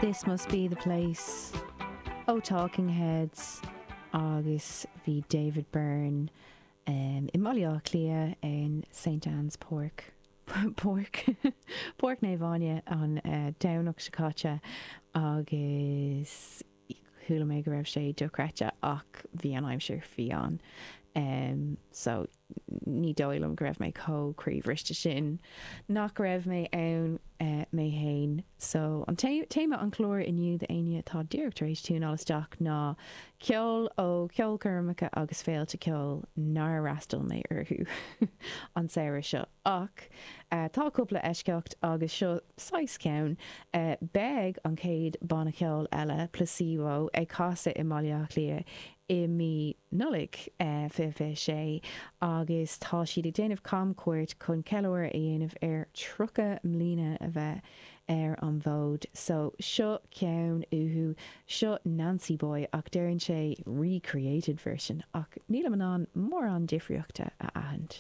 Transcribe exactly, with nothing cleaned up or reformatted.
This Must Be The Place ó Talking Heads agus bhí David Byrne um, i mBaile Átha Cliath in Saint Anne's Park Páirc Páirc Naomh Áine an uh, Domhnach seo caite agus chuala mé go raibh sé dochreidte ach bhí an aimsir fiáin. Um, so ní dóigh liom go raibh mé chomh croíbhriste sin nach raibh mé ann uh, mé féin. So an téama an chlár inniu d'éinne atá díreach tar éis tiúnáil isteach ná ceol ó ceolchoirmeacha agus féilte ceoil nár fhreastail mé orthu an samhradh seo. Ach uh, tá cúpla eisceacht agus seo saghas ceann uh, beidh an chéad banna ceoil eile Placebo ag casadh i mBaile Átha Cliath i mí Nollag uh, fiche fiche sé agus tá siad ag déanamh camchuairt chun ceiliúradh a dhéanamh ar tríocha mbliana a bheith ar an bhfód. So seo ceann uathu seo Nancy Boy ach deireann sé recreated version ach nílim in ann mórán difríochta a aithint.